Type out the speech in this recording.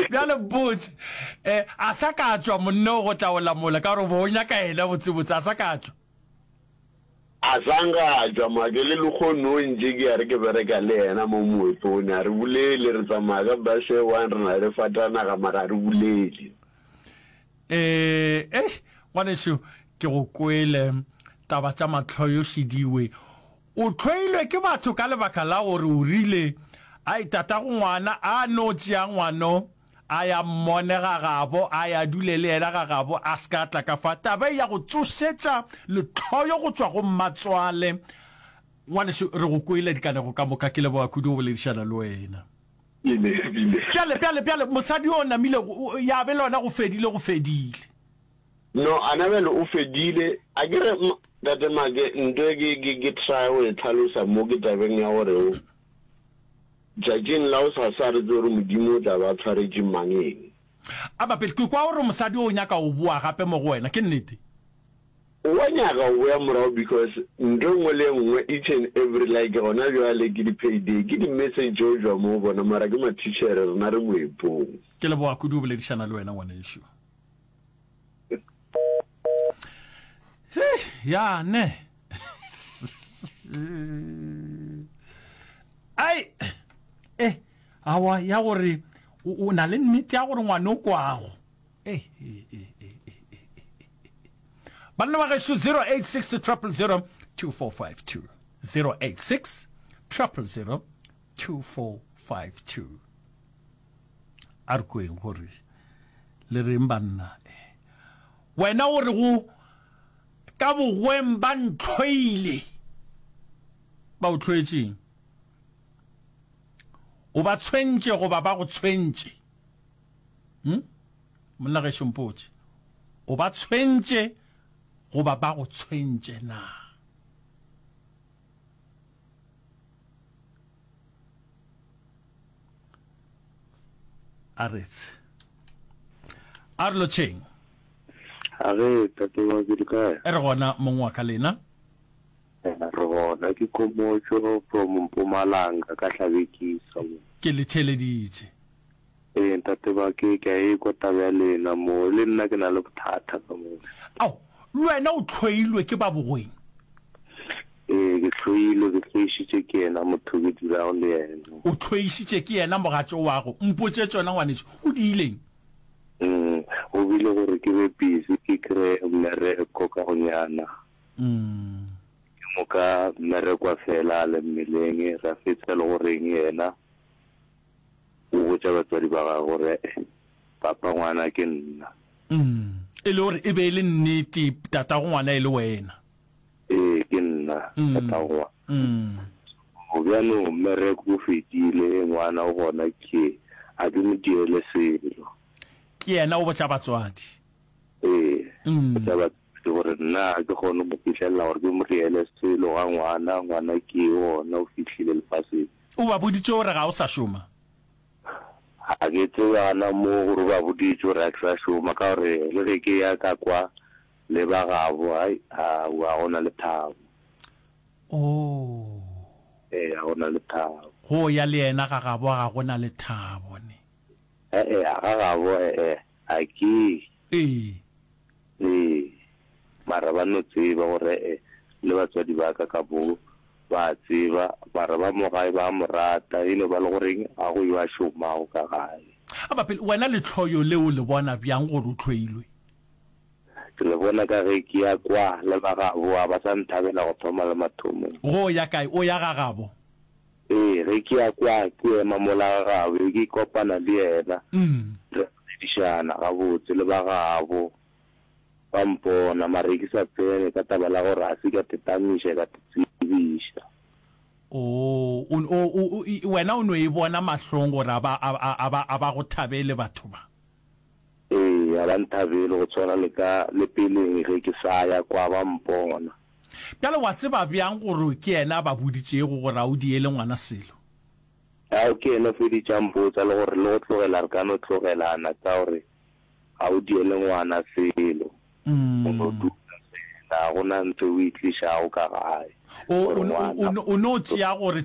Bjale mpotše, eh, a sa ka tšwa monna o go tla o lamola ka gore o be o nyaka yena botsebotse, a sa ka tšwa? A sa nka a tšwa make le lekgono o ntše ke ya re ke bereka le yena mo moepong, a re bolele, re tsamaya ka bus e one, re na le fatanaga mara a re bolele. Eh, eh, ngwanešu, ke go kwele, taba tša mahloyo šidiwe. O hloilwe ke batho ka lebaka la gore o rile, Ai, tatago ngwana a no tšea ngwano a ya mmone ga gabo, a ya dule le yena ga gabo, a se ka a tla ka fa. Taba e ya go tsošetša lehloyo go tšwa go mmatswale. Ngwanešu, re go kwele dikanego ka moka. Ke leboga kudu go boledišana le wena. Bjale, bjale, bjale, mosadi yo o namile, ya be le yona go fedile, go fedile. No, ana bjale o fedile. A ke re, Tate Make, nto e ke, ke, ke try go e hlalosa mo ke tabeng ya gore o, tšatšing la gosasa re tsebe gore Modimo o tla ba a tshwaretše mang eng. A bapele, ke kwa gore mosadi o nyaka go boa gape mo go wena, ke nnete? Wa nyaka go boya morago because nto e nngwe le e nngwe each and every like gona bjale ke di pay day, ke di message tšo tšwa mo go bona mara ke mathitšhere rena re moepong. Ke leboga kudu go boledišana le wena ngwanešu. Ya ne. Ai eh awa ya gore o na le nnete ya gore ngwana o kwago. Eh eh eh eh eh. Banna ba gešo 086 000 2452 086 000 2452 A re kweng gore le reng banna. Wena o re go ka bogweng ba ntlhoile. Ba o hloetšeng? O ba tshwentše goba ba go tshwentše? Hm? Monna gešo mpotše. O ba tshwentše goba ba go tshwentše na? A re tshe. A re lotšheng. A re tate wa ke le kae? Re gona mong wa ka lena. Re gona ke Khomotšo from Mpumalanga ka Hlabekisa mo. Ke le theeleditše. Ee ntate ba ke ke a ekwa taba ya lena mo le nna ke na le bothata ka mo. Ao, le wena o hloilwe ke ba bogweng? Ee, ke hloilwe, ke hloišitše ke yena motho ke dulago le yena. O hloišitše ke yena mogatšo wago? Mpotše tšona ngwanetšo, o diileng? Mm, go bile gore ke be busy ke kreye mmereko ka gonyana. Mm. Ke moka mmereko wa fela a le mmeleng, ra fetsa le goreng yena o botša batswadi ba gagwe gore e-e, papa ngwana ke nna. Mm, e le gore e be e le nnete tatago ngwana e le wena. Ee, ke nna tatago ngwana. Mm. So bjalo mmereko o fedile, ngwana o gona ke, a ke mo diele selo. Ke yena o botša batswadi. Ee, botša batswadi gore nna ga ke kgone go mo fihlelela gore ke mo diele selo ga ngwana, ngwana ke gona o fihlile lefaseng. O ba boditše gore ga o sa šoma? Ga ke tsebe gana moo gore o ba boditše gore ga ke sa šoma, ka gore le ge ke ya ka kwa le ba gabo, hai, aowa, ga go na lethabo. Oh. Ee, ga go na lethabo. Go ya le yena ga gabo ga go na lethabo, ne? E-e, ga gabo, e-e, ga ke. Ee. Ee, mara ba no tseba gore e-e, le batswadi ba ka ka bo ba a tseba, mara ba mo gae ba a mo rata, e no ba le goreng ga go yo a šomago ka gae. A ba pele, wena lehloyo le o le bona bjang gore o hloilwe? Ke le bona ka ge ke ya kwa le ba gabo, ga ba sa nthabela go thoma le mathomong. Go ya kae? O ya ga gabo? Ee, ge ke ya kwa ke ema mola ga gabo, ke kopana le yena, re boledišana gabotse le ba gabo, ba mpona, mara ke sa tsene ka taba la gore ga se ka tetamiša ka te tsebiša. Oo, o, o, o, wena o no e bona mahlong gore a ba, a, a, a ba, a ba go thabele batho ba. Ee, ga ba nthabele go tshwana le ka le peleng ge ke sa ya kwa ba mpona. Bjale wa tseba bjang gore ke yena a ba boditšego gore a o diele ngwana selo? Ao, ke yena o feditše a mpotsa le gore le go tlogela re ka no tlogelana ka gore ga o diele ngwana selo. O no dula fela, ga go na ntho e o e tlišago ka gae. O, o, o, o no tšea gore.